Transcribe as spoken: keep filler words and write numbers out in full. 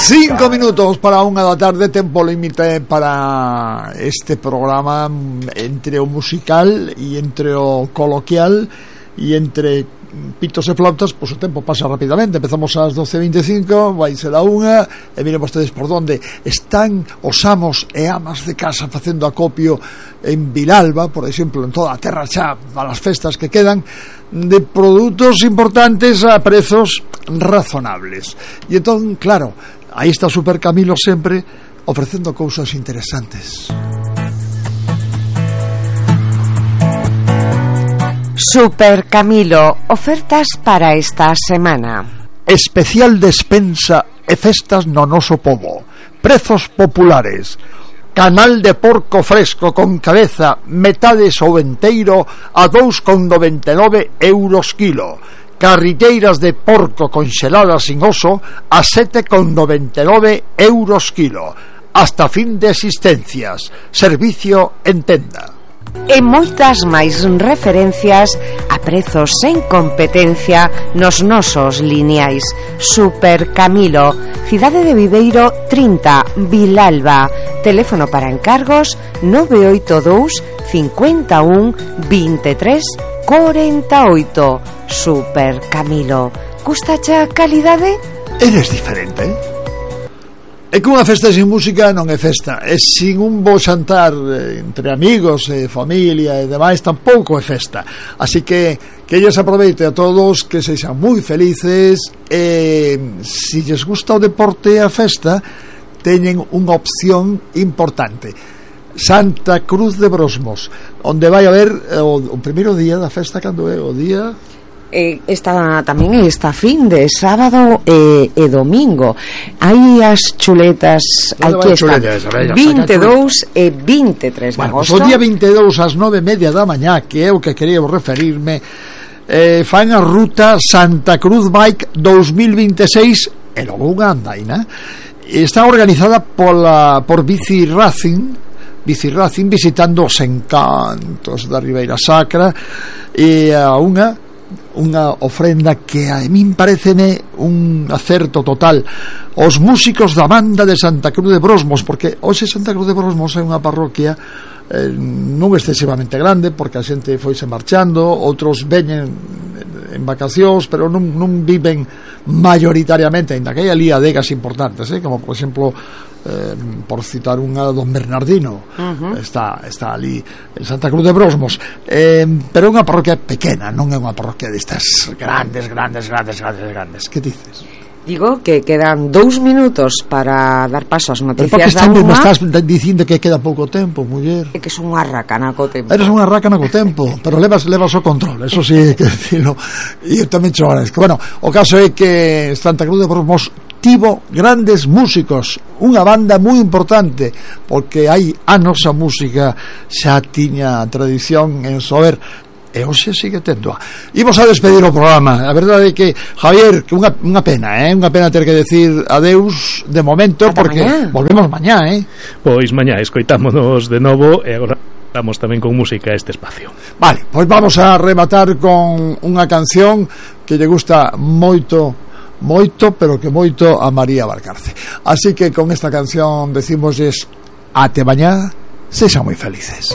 Cinco minutos para unha da tarde, tempo límite para este programa entre o musical e entre o coloquial e entre pitos e flautas, pois o tempo pasa rapidamente. Empezamos ás doce e veinticinco, vai ser a unha, e miren vostedes por donde están os amos e amas de casa facendo acopio en Vilalba, por exemplo, en toda a terra xa para as festas que quedan, de produtos importantes a prezos razonables. E entón, claro, aí está Super Camilo sempre ofrecendo cousas interesantes. Super Camilo, ofertas para esta semana. Especial despensa e festas no noso pobo. Prezos populares. Canal de porco fresco con cabeza, metades ou enteiro a dous con noventa e nove euros kilo. Carrilleiras de porco conxeladas sin oso a sete con noventa e nove euros kilo. Hasta fin de existencias. Servicio en tenda. E moitas máis referencias a prezos sen competencia nos nosos lineais. Super Camilo, Cidade de Viveiro trinta, Vilalba. Teléfono para encargos nove oito dous, cinco un, vinte e tres, cuarenta e oito. Super Camilo, gustache a calidade? Eres diferente, eh? É que unha festa sin música non é festa, e sin un bo xantar entre amigos e familia e demais tampouco é festa. Así que que lles aproveite a todos, que sexan moi felices, e se lles gusta o deporte e a festa, teñen unha opción importante. Santa Cruz de Brosmos, onde vai haber o, o primeiro día da festa, cando é o día... Eh, esta tamén esta fin de sábado e, e domingo. Hai as chuletas, hai que estar vinte e dous e vinte e tres de bueno, agosto. Pues o día vinte e dous ás nove e media da mañá, que é o que quería referirme, eh, fan a ruta Santa Cruz Bike dos mil vinte e seis, e logo unha andaina. Está organizada pola, por Bici Racing, Bici Racing, visitando os encantos da Ribeira Sacra, e a unha unha ofrenda que a min pareceme un acerto total. Os músicos da banda de Santa Cruz de Brosmos, porque hoxe Santa Cruz de Brosmos é unha parroquia eh, non excesivamente grande, porque a xente foise marchando, outros veñen en vacacións, pero non, non viven mayoritariamente, ainda que hai ali adegas importantes, eh, como por exemplo eh, por citar unha Don Bernardino, uh-huh. está, está ali en Santa Cruz de Brosmos, eh, pero é unha parroquia pequena, non é unha parroquia destas grandes, grandes, grandes, grandes, grandes. Que dices? Digo que quedan dous minutos para dar paso ás noticias da unha. Me estás dicindo que queda pouco tempo, muller. É que son unha racana co tempo. Eres unha racana co tempo, pero levas, levas o control, eso sí que decirlo. E eu tamén cho agradezco. Bueno, o caso é que Santa Cruz de Brosmos tivo grandes músicos, unha banda moi importante, porque hai anos a música xa tiña tradición en saber, e hoxe sigue tendo. Imos a despedir o programa. A verdade é que, Javier, que unha, unha pena, eh? Unha pena ter que decir adeus de momento. Ata porque mañá. Volvemos mañá, eh? Pois mañá escoitámonos de novo, e agora vamos tamén con música a este espacio. Vale, pois vamos a rematar con unha canción que lle gusta moito, moito, pero que moito a María Valcarce. Así que con esta canción decimosles ate mañá, sexan moi felices.